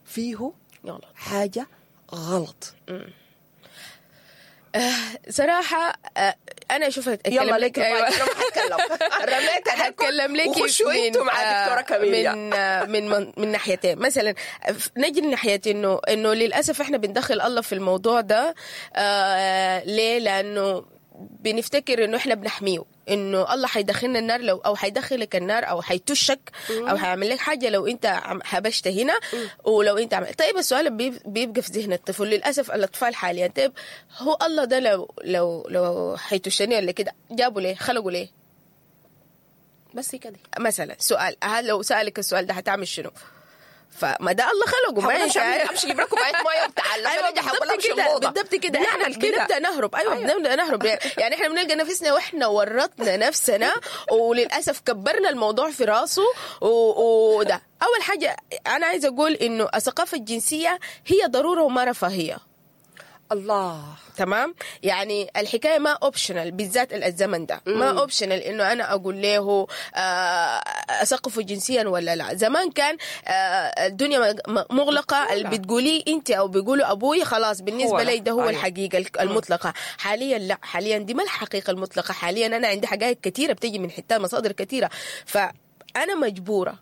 فيه غلط. حاجة غلط. صراحة آه، انا اشوف اتكلم يلا لك أيوة. أيوة. انا ما حتكلم، رميت عليكم هتكلم لك وخشوا من- انتوا مع آه، دكتورة كاميليا. من آه، من من, من ناحيتين. مثلا نجي لناحيه انه انه للاسف احنا بندخل الله في الموضوع ده. آه ليه؟ لانه بنفتكر انه احنا بنحميه، انه الله حيدخلنا النار لو او حيدخلك النار او حيتشك او حيعمل لك حاجة لو انت عم- حبشت هنا ولو انت عمل. طيب السؤال بيب- بيبقى في ذهن الطفل للاسف الاطفال حاليا، طيب هو الله ده لو لو لو حيتشني ولا كده جابوا ليه؟ خلقوا ليه؟ بس كده مثلا سؤال، هل لو سألك السؤال ده هتعمل شنو؟ فما ده الله خلقه ما حاول انت امشي امشي اجيب لكم كوباية مية وتعال. ايوه ايوه حاول بالضبط امشي كده، الاوضة. بالضبط كده احنا بنعمل كده. بنبدا نهرب. ايوه, أيوة. بنبدا نهرب. يعني احنا بنلقى نفسنا واحنا ورطنا نفسنا وللاسف كبرنا الموضوع في راسه و- وده اول حاجة انا عايزه اقول انه الثقافة الجنسية هي ضرورة وما رفاهية. الله. تمام، يعني الحكاية ما optional بالذات الزمن ده ما optional انه انا اقول له آه، اثقفه جنسيا ولا لا. زمان كان آه، الدنيا مغلقة، اللي بتقوليه انت او بيقولوا ابوي خلاص بالنسبة لي ده هو أيوه. الحقيقة المطلقة. حاليا لا، حاليا دي ما الحقيقة المطلقة. حاليا انا عندي حقائق كثيرة بتيجي من حتات مصادر كثيرة، فانا مجبوره،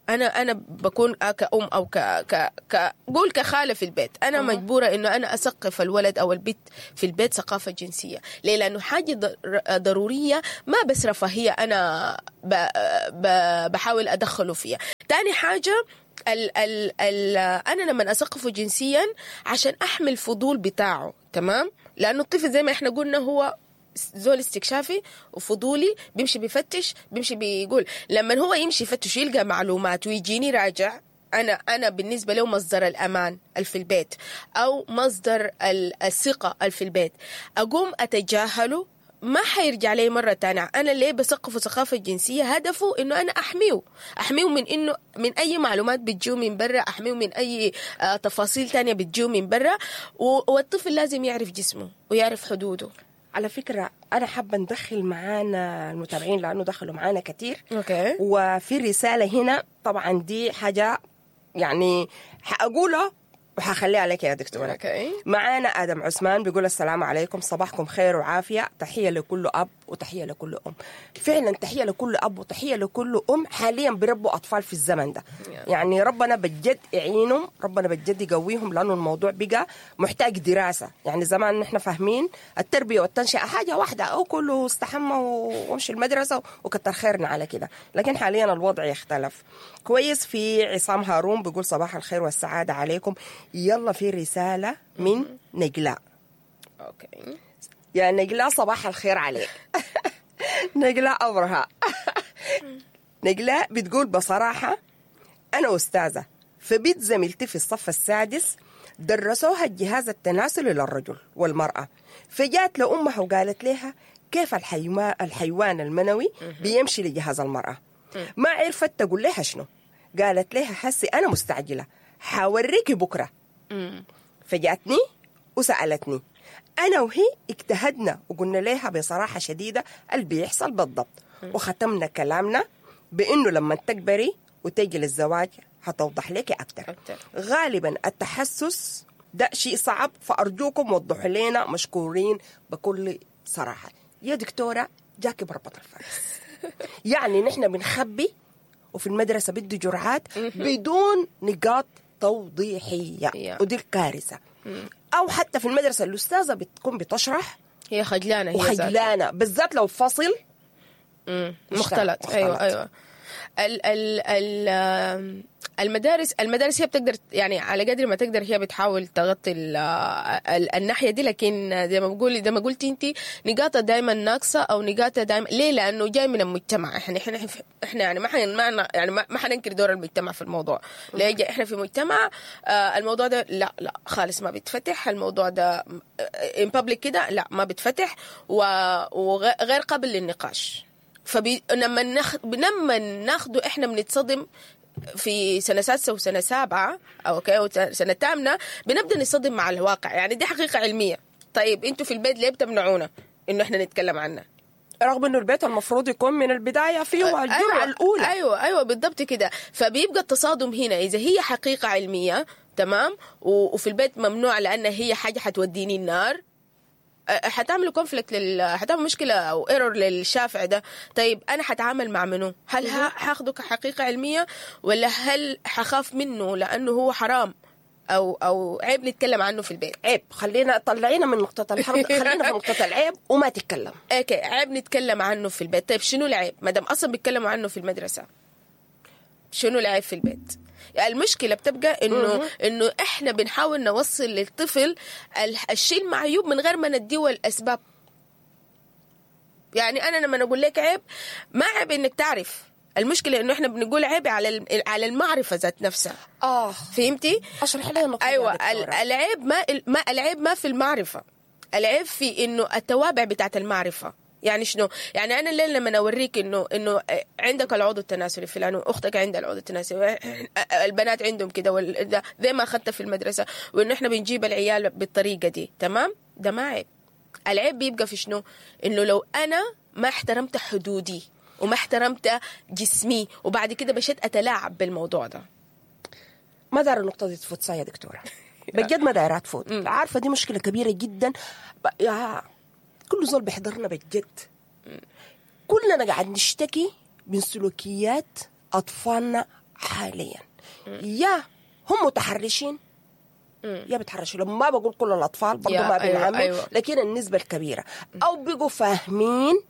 انا انا بكون كأم او ك ك ك قول كخاله في البيت، انا أه. مجبوره انه انا اثقف الولد او البنت في البيت ثقافة جنسية. ليه؟ لانه حاجة ضرورية، ما بس رفاهية انا ب ب بحاول ادخله فيها. تاني حاجة ال ال ال انا لما اثقفه جنسيا عشان احمل الفضول بتاعه، تمام؟ لانه الطفل زي ما احنا قلنا هو زول استكشافي وفضولي، بيمشي بيفتش، بيمشي بيقول. لما هو يمشي يفتش يلقى معلومات ويجيني راجع، انا انا بالنسبة له مصدر الامان في البيت او مصدر الثقة في البيت، اقوم اتجاهله ما حيرجع لي مرة تانية. أنا ليه بثقفه ثقافة جنسية؟ هدفه إنه أنا أحميه، أحميه من إنه من أي معلومات بتجيه من برا، أحميه من أي آه تفاصيل تانية بتجيه من برا. والطفل لازم يعرف جسمه ويعرف حدوده. على فكرة أنا حابة ندخل معانا المتابعين لأنه دخلوا معانا كتير. okay. وفي رسالة هنا طبعا دي حاجة يعني حأقولها وحخليها عليك يا دكتورة. okay. معانا آدم عثمان بيقول السلام عليكم، صباحكم خير وعافية، تحية لكل أب وتحية لكل أم. فعلا تحية لكل أب وتحية لكل أم حاليا بيربوا أطفال في الزمن ده. yeah. يعني ربنا بجد يعينهم، ربنا بجد يقويهم، لأنه الموضوع بقى محتاج دراسة. يعني زمان نحن فاهمين التربية والتنشئة حاجة واحدة، أو كله استحمى وامشي المدرسة وكتر خيرنا على كده، لكن حاليا الوضع يختلف. كويس. في عصام هارون بيقول صباح الخير والسعادة عليكم. يلا في رسالة من نجلاء. okay يا نجلاء صباح الخير عليك. نجلاء أبرهة. نجلاء بتقول بصراحة أنا أستاذة فبيت زميلتي في الصف السادس درسوها الجهاز التناسلي للرجل والمرأة، فجات لأمها وقالت لها كيف الحيوان المنوي بيمشي لجهاز المرأة. ما عرفت تقول لها شنو، قالت لها حسي أنا مستعجلة حاوريكي بكرة. فجأتني وسألتني أنا وهي، اجتهدنا وقلنا لها بصراحة شديدة اللي بيحصل بالضبط، وختمنا كلامنا بأنه لما تكبري وتجي للزواج هتوضح لك أكتر. غالبا التحسس ده شيء صعب، فأرجوكم وضحوا لنا، مشكورين بكل صراحة. يا دكتورة جاكي بربط الفرس. يعني نحن بنخبي، وفي المدرسة بدي جرعات بدون نقاط توضيحية. yeah. ودي الكارثة. أو حتى في المدرسة الأستاذة بتكون بتشرح هي خجلانة، هي وخجلانة بالذات لو فصل مختلط. مختلط. أيوة أيوة. ال ال ال المدارس المدارس هي بتقدر يعني على قدر ما تقدر هي بتحاول تغطي ال ال الناحية دي، لكن زي ما بقول زي ما قلتي انت نقاطها دائما ناقصه او نقاطها دائما. ليه؟ لانه جاي من المجتمع. احنا احنا احنا يعني ما حن ما يعني ما حننكر دور المجتمع في الموضوع. ليه احنا في مجتمع آه الموضوع ده لا لا خالص ما بيتفتح، الموضوع ده in public كده لا ما بيتفتح وغير قابل للنقاش. فلما ناخ... لما ناخده احنا بنتصدم في سنة سادسة وسنة سابعه او okay سنة ثامنه، بنبدا نتصدم مع الواقع. يعني دي حقيقة علمية. طيب انتوا في البيت ليه بتمنعونا انه احنا نتكلم عنها؟ رغم انه البيت المفروض يكون من البداية فيه الجرعة أيوة الاولى. ايوه ايوه بالضبط كده. فبيبقى التصادم هنا اذا هي حقيقة علمية تمام وفي البيت ممنوع لان هي حاجة حتوديني النار، حتعملوا conflict لل... حتعمل مشكلة او error للشافع ده. طيب انا حتعامل مع منه؟ هل هاخده كحقيقه علمية ولا هل حخاف منه لانه هو حرام او او عيب نتكلم عنه في البيت؟ عيب، خلينا طلعينا من نقطة الحرام، خلينا في نقطة العيب وما تتكلم. okay عيب نتكلم عنه في البيت. طيب شنو العيب ما دام اصلا بيتكلموا عنه في المدرسة؟ شنو العيب في البيت؟ المشكلة بتبقى انه انه احنا بنحاول نوصل للطفل الشيء المعيوب من غير ما نديه الاسباب. يعني انا لما اقول لك عيب، ما عيب انك تعرف. المشكلة انه احنا بنقول عيب على على المعرفة ذات نفسها. اه فهمتي؟ اشرح لها النقطة. ايوه العيب ما ما العيب ما في المعرفة، العيب في انه التوابع بتاعت المعرفة. يعني شنو؟ يعني انا الليلة لما اوريك انه انه عندك العضو التناسلي فلان، واختك عندها العضو التناسلي، البنات عندهم كده، زي ما اخذتها في المدرسة، وانه احنا بنجيب العيال بالطريقة دي، تمام؟ ده ما عيب. العيب بيبقى في شنو؟ انه لو انا ما احترمت حدودي وما احترمت جسمي وبعد كده مشيت اتلاعب بالموضوع ده. ما دار النقطة دي تفوت يا دكتورة، بجد ما دايرة تفوت. عارفه دي مشكلة كبيرة جدا. يا كل زول بيحضرنا بجد، كلنا قاعد نشتكي من سلوكيات اطفالنا حاليا. يا هم متحرشين يا بتحرشوا، لما ما بقول كل الاطفال برضه ما بنعمم، أيوة أيوة. لكن النسبة الكبيرة او بقوا فاهمين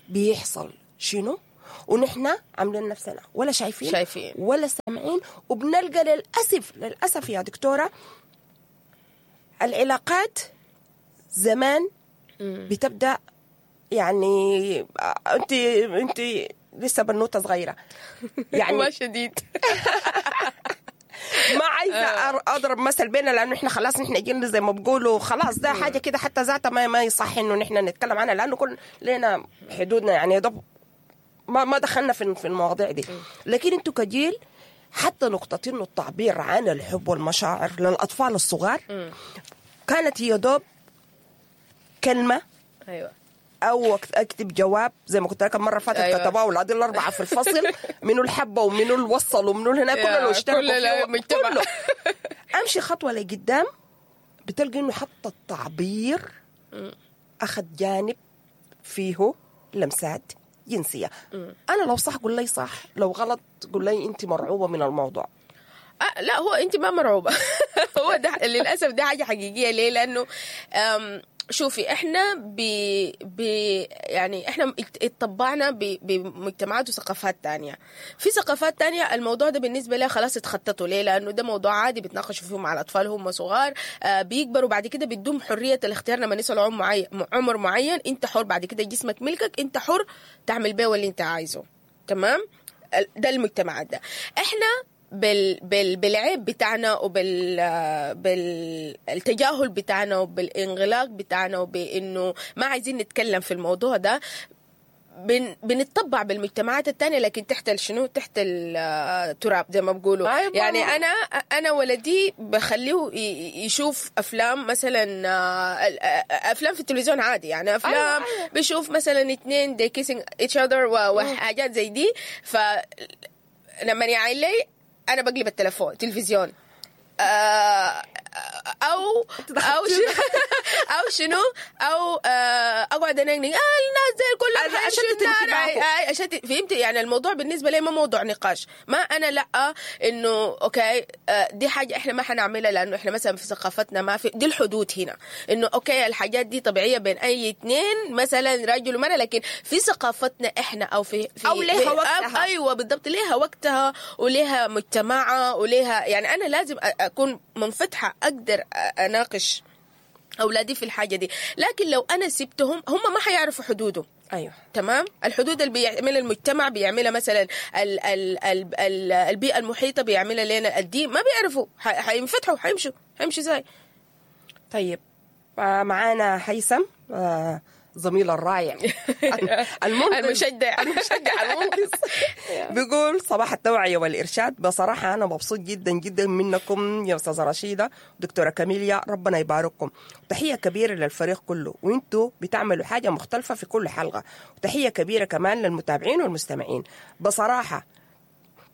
بيحصل شنو، ونحن عاملين نفسنا ولا شايفين, شايفين ولا سامعين. وبنلقى للاسف للاسف يا دكتورة العلاقات زمان بتبدا، يعني انت انت لسه بنوته صغيرة يعني ما شديد ما عايزه اضرب مثل بينا، لانه احنا خلاص نحن جيلنا زي ما بقولوا خلاص ده حاجة كده حتى ذاتها ما ما يصح انه نحن نتكلم عنها، لانه كل لنا حدودنا يعني ده ما ما دخلنا في في المواضيع دي. لكن انتوا كجيل حتى نقطة انه التعبير عن الحب والمشاعر للاطفال الصغار كانت هي دوب كلمة، ايوه، او اكتب جواب زي ما كنت لك المرة فاتت. أيوة. كتبوه اولاد الاربعة في الفصل منو الحبة ومنو الوصل ومنو هنا، كله اللي اشتركوا فيه كله. امشي خطوة لقدام بتلقى انه حتى التعبير اخذ جانب فيه لمسات جنسية. انا لو صح قول لي صح، لو غلط قول لي انت مرعوبه من الموضوع. أه لا، هو انت ما مرعوبه. هو ده للاسف ده حاجة حقيقية. ليه؟ لانه شوفي احنا ب ب يعني احنا اتطبعنا بمجتمعات وثقافات تانية. في ثقافات تانية الموضوع ده بالنسبة لها خلاص اتخططوا. ليه؟ لانه ده موضوع عادي بيتناقشوا فيه مع الاطفال هم صغار، آه بيكبروا بعد كده بيدوم حرية الاختيار لما يصلوا عمر معين، عمر معين انت حر بعد كده، جسمك ملكك، انت حر تعمل بيه اللي انت عايزه. تمام؟ ده المجتمعات ده. احنا بال بال بالعيب بتاعنا وبال بالتجاهل بتاعنا وبالانغلاق بتاعنا وبانه ما عايزين نتكلم في الموضوع ده، بن بنتطبع بالمجتمعات التانية، لكن تحت شنو؟ تحت التراب زي ما بقولوا. يعني انا انا ولدي بخليه يشوف افلام مثلا، افلام في التلفزيون عادي، يعني افلام بيشوف مثلا اتنين they kissing each other وحاجات زي دي، ف لما يعين لي انا بقلب التلفون تلفزيون، او او شنو او شنو او اقعد انقنق اه الناس زي كلها اشتت انتباهه، اشتت. فهمت؟ يعني الموضوع بالنسبة لي ما موضوع نقاش، ما انا لا انه okay دي حاجة احنا ما حنعملها لانه احنا مثلا في ثقافتنا ما في دي الحدود هنا، انه okay الحاجات دي طبيعية بين اي اثنين مثلا رجل ومرأة، لكن في ثقافتنا احنا او في, في او ليها وقتها. ايوه بالضبط، ليها وقتها وليها مجتمعها وليها، يعني انا لازم اكون منفتحة اقدر اناقش اولادي في الحاجة دي، لكن لو انا سبتهم هم ما حيعرفوا حدودهم. ايوه تمام. الحدود اللي بيعملها المجتمع، بيعملها مثلا ال ال ال ال البيئة المحيطة، بيعملها لنا الدين، ما بيعرفوا، حينفتحوا حيمشوا حيمشوا زي. طيب معانا هيثم زميل الرائع المشجع المشجع المنقذ بيقول صباح التوعية والإرشاد. بصراحة أنا مبسوط جدا جدا منكم يا أستاذة رشيدة دكتورة كاميليا، ربنا يبارككم. تحية كبيرة للفريق كله، وانتوا بتعملوا حاجة مختلفة في كل حلقة. وتحية كبيرة كمان للمتابعين والمستمعين. بصراحة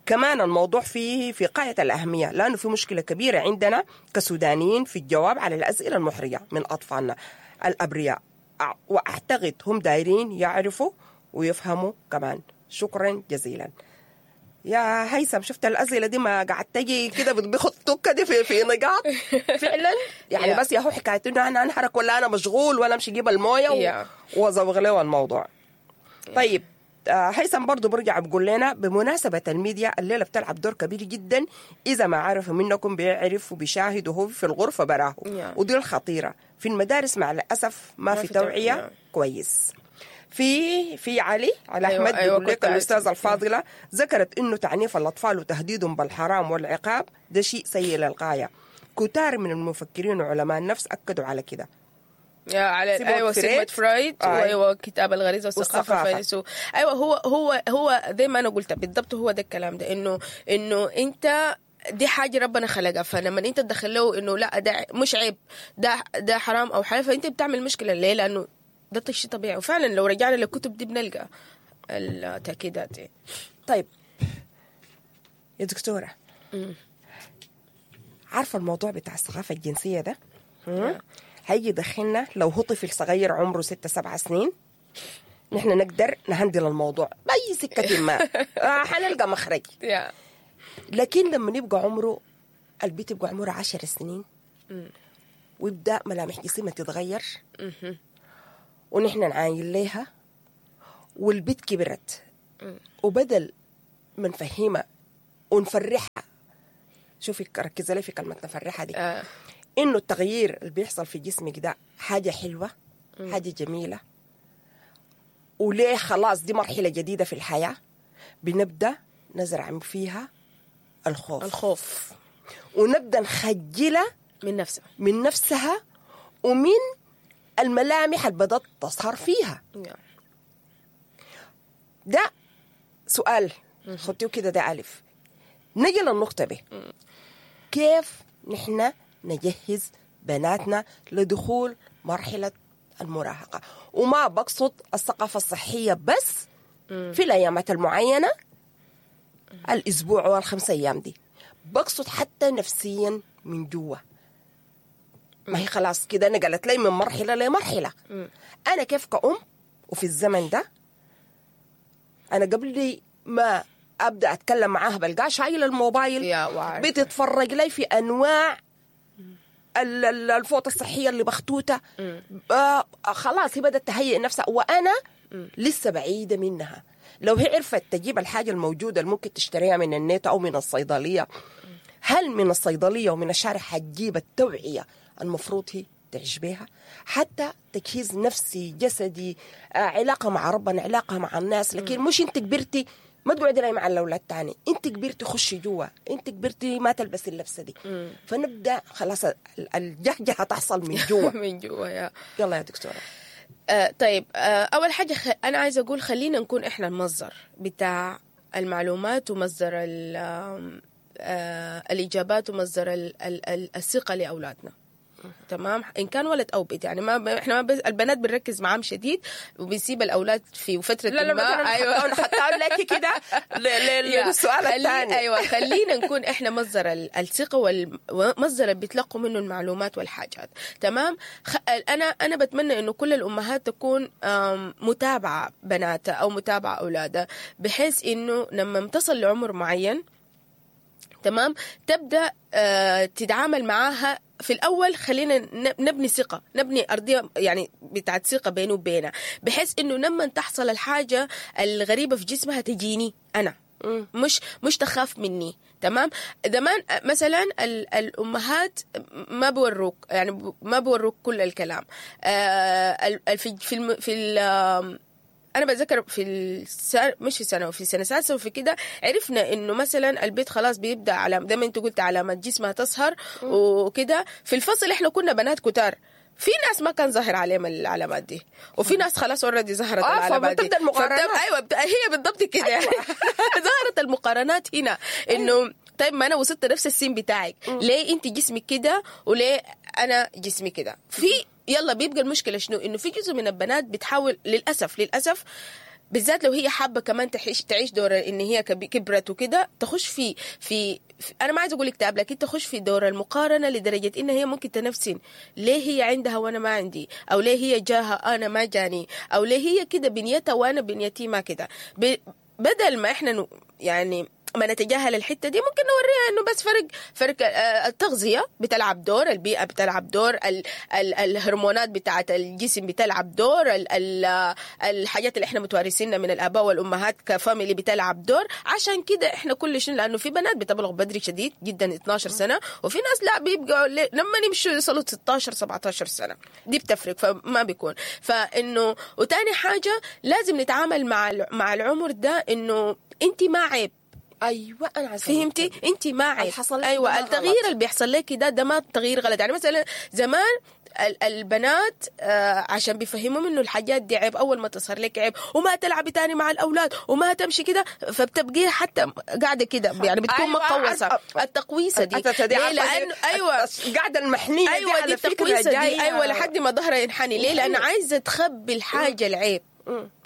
كمان الموضوع فيه في غاية الأهمية، لأنه في مشكلة كبيرة عندنا كسودانيين في الجواب على الأسئلة المحرجة من أطفالنا الأبرياء، وأعتقد هم دايرين يعرفوا ويفهموا كمان. شكرا جزيلا يا هيثم. شفت الأسئلة دي ما قاعد تجي كده بتخطك كده في في نقاط فعلا يعني. yeah. بس يا هو حكاية إنه أنا أنحرك ولا أنا مشغول ولا أمشي أجيب الموية و... وأزوغ له الموضوع. yeah. طيب هيثم برضو برجع بقول لنا بمناسبة الميديا الليلة بتلعب دور كبير جدا، إذا ما عرف منكم بيعرف وبيشاهد وهو في الغرفة براه. yeah. ودي الخطيرة في المدارس مع الأسف ما, ما في توعية. yeah. كويس. في في علي على أيوة أحمد أيوة بيقول لك الأستاذة الفاضلة ذكرت إنه تعنيف الأطفال وتهديدهم بالحرام والعقاب ده شيء سيء للغاية. كتار من المفكرين وعلماء النفس أكدوا على كده. يا على سيجموند ايوه فريد. سيجموند فرويد. آه. وايوة كتاب الغريزة والثقافة والثقافة. الفيلسوف. ايوه هو هو هو زي ما انا قلت بالضبط، هو ده الكلام ده، انه انه انت دي حاجة ربنا خلقها، فلما انت تدخل له انه لا ده مش عيب، ده ده حرام او حلال، فانت بتعمل مشكلة. ليه؟ لانه ده شيء طبيعي. وفعلا لو رجعنا للكتب دي بنلقى التاكيدات دي. طيب يا دكتورة، عارفة الموضوع بتاع الثقافة الجنسية ده مم؟ هيجي يدخلنا لو هو طفل صغير عمره ستة سبعة سنين، نحن نقدر نهندل الموضوع بأي سكة ما، آه، حنلقى مخرج. يا لكن لما يبقى عمره البيت يبقى عمره عشر سنين ويبدأ ملامح جسمها تتغير ونحن نعاين ليها، والبيت كبرت، وبدل ما نفهمها ونفرحها، شوفي ركزي لي في كلمة نفرحها دي، آه. إنه التغيير اللي بيحصل في جسمك ده حاجة حلوة، حاجة جميلة، وليه خلاص دي مرحلة جديدة في الحياة، بنبدأ نزرع فيها الخوف، الخوف ونبدأ نخجلها من نفسها، من نفسها ومن الملامح اللي بدأت تظهر فيها. يا. ده سؤال خدتيه كده، ده ألف. نجي للنقطة ب، كيف نحن نجهز بناتنا لدخول مرحلة المراهقة؟ وما بقصد الثقافة الصحية بس في الأيامات المعينة، الأسبوع والخمس أيام دي، بقصد حتى نفسيا من جوا. ما هي خلاص كده نقلت لي من مرحلة لمرحلة. أنا كيف كأم وفي الزمن ده، أنا قبل ما أبدأ أتكلم معاها بلقاها شايلة الموبايل، يا وعارفة. بتتفرج لي في أنواع ال- ال- الفوطة الصحية اللي مخطوطة. آه خلاص هي بدأت تهيئ نفسها وأنا لسه بعيدة منها. لو هي عرفت تجيب الحاجة الموجودة اللي ممكن تشتريها من النت أو من الصيدلية، هل من الصيدلية ومن الشارع حتجيب التوعية المفروض هي تعيش بيها؟ حتى تجهيز نفسي جسدي، آه علاقة مع ربنا، علاقة مع الناس. لكن مش انت كبرتي ما تقعدي لي مع الاولاد تاني، انت كبرتي خشي جوا، انت كبرتي ما تلبسي اللبسه دي. فنبدا خلاص ال- الجهجهه تحصل من جوا. من جوا يا يلا يا دكتورة. آه طيب، آه اول حاجة خ... انا عايزه اقول خلينا نكون احنا المصدر بتاع المعلومات ومصدر ال... آم، آه الاجابات ومصدر ال... ال... ال... الثقة لاولادنا. تمام، ان كان ولد او بنت، يعني ما ب... احنا ما بس... البنات بنركز معاهم شديد وبنسيب الاولاد في فترة لا لا ما مثلا ايوه حتى لك كده ل- ل- يا، للسؤال خلي- الثاني. ايوه خلينا نكون احنا مصدر ال- الثقة والمصدر اللي بيتلقوا منه المعلومات والحاجات. تمام، خ... انا انا بتمنى انه كل الامهات تكون آم، متابعه بناتها او متابعه اولادها، بحيث انه لما تصل لعمر معين، تمام، تبدا آه، تتعامل معاها. في الاول خلينا ن- نبني ثقة، نبني ارضية يعني بتاعت ثقة بينه وبينها، بحيث انه لما تحصل الحاجة الغريبة في جسمها تجيني انا، مش مش تخاف مني. تمام، زمان مثلا ال- الامهات ما بوروك، يعني ب- ما بوروك كل الكلام. آه، ال- ال- في في الم- في ال- انا بتذكر في السنة، مش في سنة، وفي سنة سادسة وفي كده، عرفنا انه مثلا البيت خلاص بيبدا على زي ما انت قلت علامات جسمها تظهر وكده. في الفصل احنا كنا بنات كتار، في ناس ما كان ظاهر عليهم العلامات دي، وفي ناس خلاص already ظهرت آه، العلامات دي. فبتبدأ المقارنات. فبتبدأ- ايوه بت... هي بالضبط كده يعني. ظهرت المقارنات هنا، انه طيب ما انا وصلت نفس السن بتاعك، ليه انت جسمك كده وليه انا جسمي كده؟ في يلا بيبقى المشكلة شنو؟ انه في جزء من البنات بتحاول للاسف للاسف بالذات لو هي حابة كمان تعيش تعيش دور ان هي كب- كبرت وكده، تخش في في في- انا ما عايزه اقول اكتئاب، لكن تخش في دور المقارنة لدرجة ان هي ممكن تنفسن، ليه هي عندها وانا ما عندي، او ليه هي جاها انا ما جاني، او ليه هي كده بنيتها وانا بنيتي ما كده. ب- بدل ما احنا نو- يعني ما نتجاهل الحتة دي، ممكن نوريها انه بس فرق فرق آه، التغذية بتلعب دور، البيئة بتلعب دور، ال ال الهرمونات بتاعه الجسم بتلعب دور، ال ال الحاجات اللي احنا متوارثينها من الاباء والامهات ك family بتلعب دور. عشان كده احنا كل شيء، لانه في بنات بتبلغ بدري شديد جدا اتناشر سنة، وفي ناس لا بيبقوا ل- لما يمشوا يوصلوا ستاشر سبعتاشر سنة، دي بتفرق. فما بيكون فانه. وتاني حاجة لازم نتعامل مع الع- مع العمر ده انه انت ما عيب. ايوه انا عايزة فهمتي؟ انت ما عيب. الحصل لك ايوه ده ما التغيير غلط. اللي بيحصل لك ده ده ما تغيير غلط. يعني مثلا زمان ال- البنات آه عشان بيفهموهم انه الحاجات دي عيب، اول ما تظهر لك عيب وما تلعبي تاني مع الاولاد وما تمشي كده، فبتبقي حتى قاعدة كده يعني بتكون أيوة، مقوسة. عارفة. التقويسه دي الأساسة دي ليه؟ عارفة لانه دي- ايوه القعدة المحنيه دي ايوه دي على فكرة التقويسه دي جاية- ايوه لحد ما ظهرها ينحني. ليه؟ لان عايزه تخبي الحاجة العيب،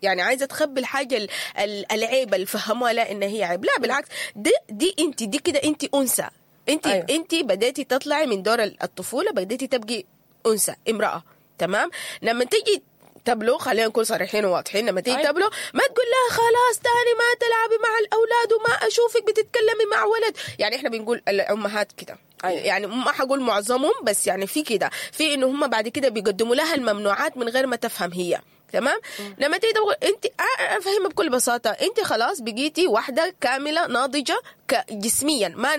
يعني عايزه تخبي الحاجة ال- ال- العيب اللي فهموها لا ان هي عيب. لا بالعكس، دي دي انت دي كده انت انثى، انت أيوة. أيوة. انت بديتي تطلعي من دور الطفولة، بديتي تبقي انثى امراة، تمام؟ لما تيجي تبلغ، خلينا نكون صريحين وواضحين، لما تيجي أيوة. تبلغ ما تقول لها خلاص تاني ما تلعبي مع الاولاد وما اشوفك بتتكلمي مع ولد. يعني احنا بنقول الامهات كده أيوة. يعني ما حقول معظمهم، بس يعني في كده، في انه هم بعد كده بيقدموا لها الممنوعات من غير ما تفهم هي، تمام؟ لما تيجي تقول انت افهمها بكل بساطة، انت خلاص بقيتي واحدة كاملة ناضجة جسميا، ما